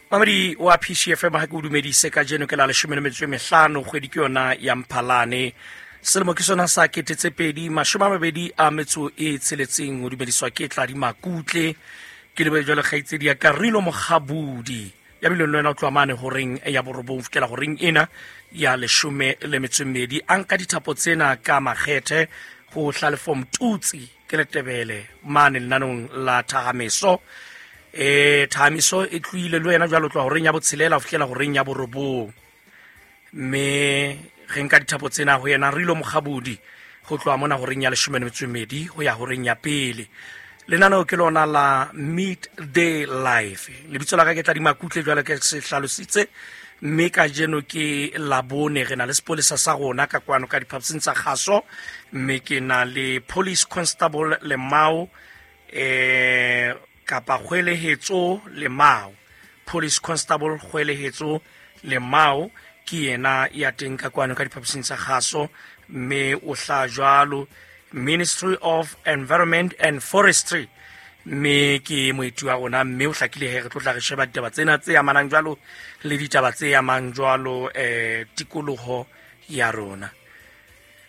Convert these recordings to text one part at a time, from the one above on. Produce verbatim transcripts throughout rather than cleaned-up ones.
Mamedi wa P C F M, ha ke o dumedise kajeno ke la leshome le metso e mehlano, kgwedi ke yona ya Mphalane. Selemo ke sona sa kete tse pedi mashome a mabedi a metso e tsheletseng. O dumediswa ke Tladi Makutle, ke lebe jwale kgaitsedi ya Karilo Mokgabudi ya bileng le wena o tloha mane horeng ya borobong ho fihlela horeng ena ya leshome le metso e mmedi. A nka dithapo tsena ka makgethe ho Hlalefo Mtutsi ke Letebele mane lenanong la Thahamiso. E Thahamiso e tlohile le wena jwale o tloha horeng ya botshelela ho fihlela horeng ya borobong, mme re nka dithapo tsena ho yena Rilo Mokgabudi ho tloha mona horeng ya leshome le metso e mmedi ho ya horeng ya pele. Lenaneo ke lona la Midday Life. Lebitso la ka ke Tladi Makutle jwale ke se hlalositse, mme kajeno ke Labone, re na le sepolesa sa rona ka kwano ka diphaposing tsa kgaso, mme ke na le Police Constable Lemao, eh kapa Kgwelehetso Lemao. Police Constable Kgwelehetso Lemao ke yena ya teng ka kwano ka diphaposing tsa kgaso, mme o hla jwalo Ministry of Environment and Forestry, mme ke moeti wa rona, mme o hlakile he re tlo tla re sheba ditaba tsena tse amanang jwalo le ditaba tse amang jwalo eh tikoloho ya rona.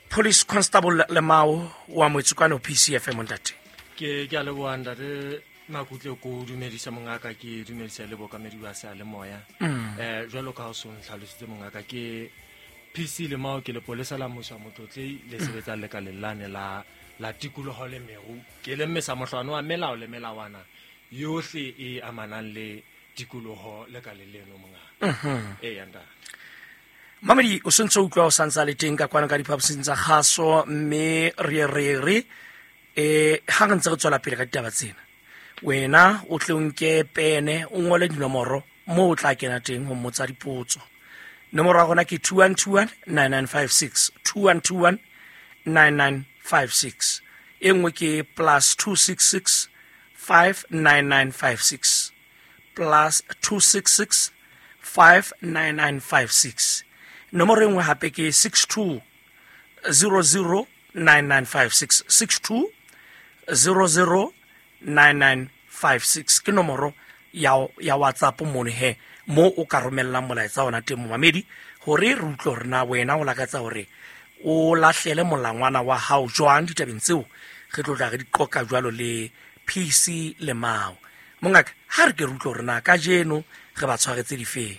Police Constable Lemao wa moetsi kwano P C F M, ntate. Ke ke a leboha ntate Makutle, ko dumedisa mongaka, ke dumedisa le bokamedi ba seyalemoya. Mm. Eh jwalo ka ha o so ntlhalositse mongaka, ke P C Lemao, ke lepolesa la mmuso wa Motlotlei le sebetsang lekaleng lane la, la tikoloho le meru. Ke le mmesa mohlwane wa melao le melawana yohle e amanang le tikoloho lekaleng leno mongaka. Mhm. Eya, ntate. Mamedi, o sentse o utlwa o santse a le teng ka kwano ka diphaposing tsa kgaso, mme re re re eh ha re ntse re tswela pele ka ditaba tsena, wena o tle o nke pene o ngole dinomoro moo o tla kena teng ho mmotsa dipotso. Nomoro ya rona ke two one two one nine nine five six, two one two one nine nine five six. E nngwe ke plus two six six five nine nine five six, plus two six six five nine nine five six. Nomoro e nngwe hape ke six two zero zero nine nine five six, six two zero zero nine nine five six. Ke nomoro ya, ya WhatsApp mono he, mo o ka romellang molaetsa ona teng momamedi, hore re utlwe hore na wena o lakatsa hore o lahlele molangwana wa hao jwang ditabeng tseo re tlo tla re di qoqa jwalo le P C Lemao. Mongaka, ha re ke re utlwe hore na kajeno re ba tshwaretse difeng.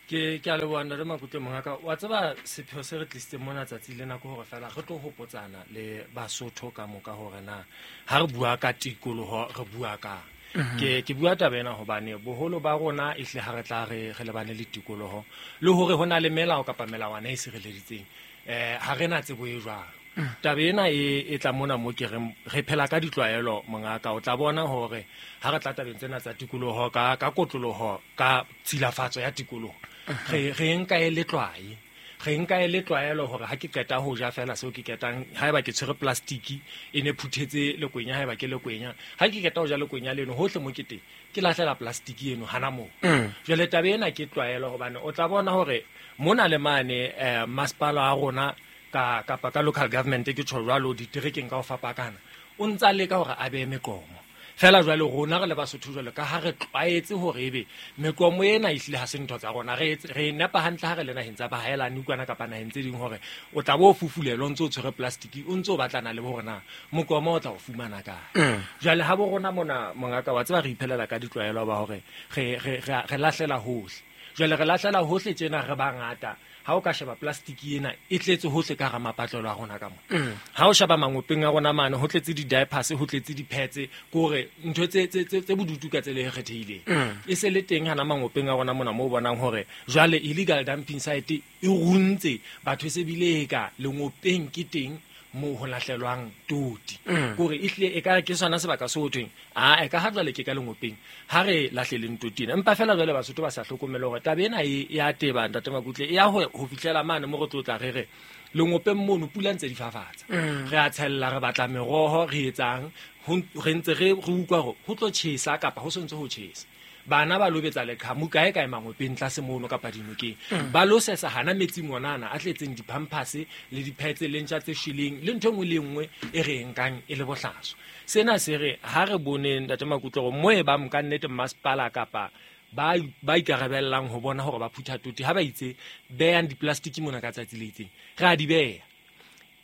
Ke, ke a leboha ntate Makutle mongaka. Wa tseba sepheo se re tlisitseng mona tsatsi lena ke hore feela re tlo hopotsana le Basotho ka moka hore na ha re bua ka tikoloho re bua kang. Mhm. Ke, ke bua taba ena hobane boholo ba rona ehle ha re tla re, re lebane le tikoloho le hore ho na le melao kapa melawana e sireleditseng, eh, ha re na tsebo e jwalo. Mm. Taba ena e, e tla mona mo ke reng re phela ka ditlwaelo mongaka. O tla bona hore ha re tla tabeng tsena tsa tikoloho ka, ka kotloloho, ka tshilafatso ya tikoloho, Mhm. re, re nka e le tlwae. Re nka e le tlwaelo hore ha ke qeta ho ja feela seo ke qetang, haeba ke tshwere plastiki e ne phuthetse lekwenya, haeba ke lekwenya, ha ke qeta ho ja lekwenya leno hohle mo ke teng ke lahlela plastiki eno hana moo. Mm. Jwale taba ena ke tlwaelo hobane o tla bona hore mona le mane, eh, masepala wa rona ka, kapa ka local government ke tjho jwalo diterekeng ka ho fapakana, o ntsa leka hore a behe meqomo. Feela jwale rona re le Basotho jwale ka ha re tlwaetse hore ebe meqomo ena ehlile ha se ntho tsa rona, re etse, re nepa hantle ha re le naheng tsa bahaelane kwana kapa naheng tse ding hore o tla bo o fufulelwa o ntso o tshwere plastic, o ntso o batlana le hore na moqomo o tla o fumana kae. Mm. Jwale ha bo rona mona mongaka wa tseba re iphelela ka ditlwaelo ba hore re, re, re, re lahlela hohle. Jwale re lahlela hohle tjena re bangata. Ha o ka sheba plastic ena e tletse hohle ka hara mapatlelo a rona ka mona. Mm. Ha o sheba mangopeng a rona mane ho tletse di-diapers, ho tletse di-pads, ke hore ntho tse, tse, tse, tse bodutu ka tsela e kgethehileng. Mm. E se le teng hana mangopeng a rona mona moo o bonang hore jwale illegal dumping site e runtse batho, e se bile e ka lengopeng ke teng moo ho lahlelwang toti. Mm. Ke hore ehlile e ka ke sona sebaka seo ho thweng, a, e ka ha jwale ke ka lengopeng, ha re lahleleng toti ena. Empa feela jwale Basotho ba sa hlokomele hore taba ena e, e a teba, ntate Makutle, e ya ho, ho fihlela mane mo re tlo tla re re lengopeng mono pula ntse di fafatsa. Mm. Re a tshella, re batla meroho, re etsang, ho n-, re ntse re, re utlwa hore ho tlo tjhesa kapa ho sontse ho tjhesa. Bana ba lobetsa leqhamu kae kae mangopeng tlase mono kapa dinokeng. Mm. Ba lo sesa hana metsing onana a tletseng di-pampers le di-pads le ntja tse shweleng le ntho e nngwe le e nngwe e re e nkang e le bohlaswa. Sena se re ha re boneng ntate Makutle hore mo e bang ka nnete masepala kapa ba ba ikarabellang ho bona hore ba phutha toti ha ba itse behang di-plastic mona ka tsatsi le itseng, re a di beha.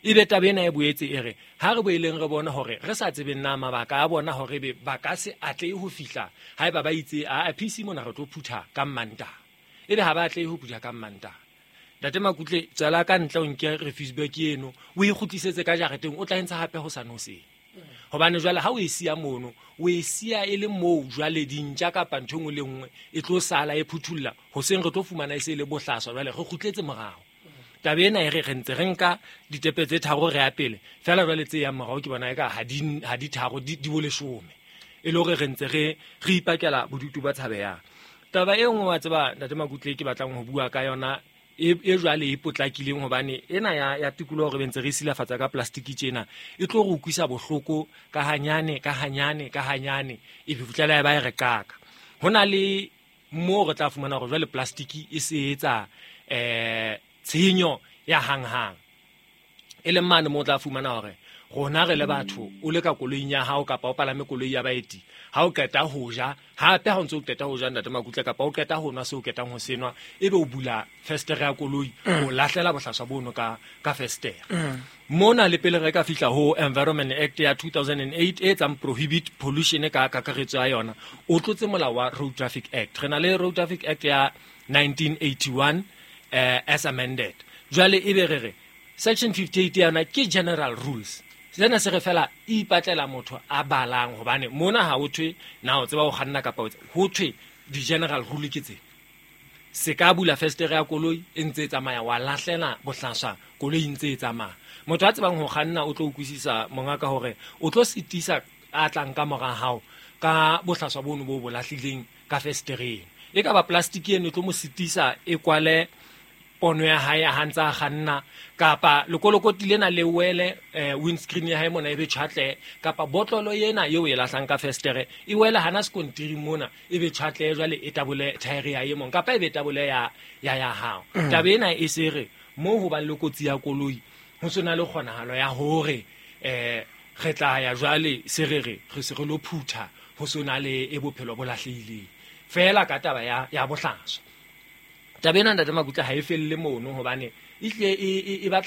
Ebe taba ena e boetse e re ha re boeleng re bone hore re sa tsebeng na mabaka a bona hore ebe ba ka se atlehe ho fihla haeba ba itse a P C mona re tlo phutha ka Mantaha, ebe ha ba atlehe ho phutha ka Mantaha. Ntate Makutle, tswela ka ntle o nke refuse bag eno o e kgutlisetse ka jareteng, o tla e ntsha hape ho sa hoseng. Hobane jwale ha o e siya mono, o e siya e le moo jwale dintja kapa ntho e nngwe le nngwe e tlo sala e phuthulla, hoseng re tlo fumana e se e le bohlaswa, jwale re kgutletse morao. Taba ena e re re ntse re nka ditepe tse tharo re ya pele, feela jwale tse yang morao ke bona eka ha di, ha di tharo, di, di bo leshome. E le hore re ntse re, re ipakela bodutu ba tshabehang. Taba e nngwe wa tseba Ntate Makutle ke batlang ho bua ka yona e, e jwale e potlakileng, hobane ena ya, ya tikoloho re ntse re silafatsa ka plastic tjena e tlo re utlwisa bohloko ka hanyane, ka hanyane, ka hanyane, e be fihlela e ba e re qaka. Ho na le moo re tla fumana hore jwale plastic e se etsa, eh, tshenyo ya hanghang. E leng mane moo o tla fumana hore rona re le batho, o le ka koloing ya hao kapa o palame koloi ya baeti, ha o qeta ho ja, hape ha o ntse o qeta ho ja Ntate Makutle, kapa o qeta ho nwa seo o qetang ho se nwa, ebe o bula festere ya koloi, o lahlela bohlaswa bono ka, ka festere. Mona le pele re ka fihla ho Environment Act ya two thousand and eight e etsang prohibit pollution ka kakaretso ya yona, o tlotse molao wa Road Traffic Act. Re na le Road Traffic Act ya nineteen eighty-one, eh, as amended. Jwale ebe re re section fifty-eight ya yona ke general rules. Sena se re fela ipatlela motho a balang, hobane mona ha ho thwe na o tseba ho kganna kapa o tseba, ho thwe di-general rule ke tse. Se ka bula festere ya koloi e ntse e tsamaya, wa lahlela bohlaswa koloi e ntse e tsamaya. Motho a tsebang ho kganna o tlo utlwisisa mongaka hore o tlo sitisa a tlang ka mora hao ka bohlaswa bono bo bo lahlileng ka festereng. E ka ba plastic eno e tlo mo sitisa e kwale pono ya hae ha ntse a kganna, kapa lekolokoti lena le wele, eh, windscreen ya hae mona e be tjhatle, kapa botlolo ena eo e lahlang ka festere e wele hana sekontiri mona e be tjhatle, jwale e tabole thaere ya e mong kapa e be tabole ya, ya ya hao. Mm. Taba ena e se re moo ho bang le kotsi ya koloi ho sena le kgonahalo ya hore, eh, re tla ya jwale se re re re se re lo phutha ho sona le e bophelo bo lahlehileng feela ka taba ya, ya bohlaswa. Taba ena Ntate Makutle ha e felle mono, hobane e hlile e, e, e batla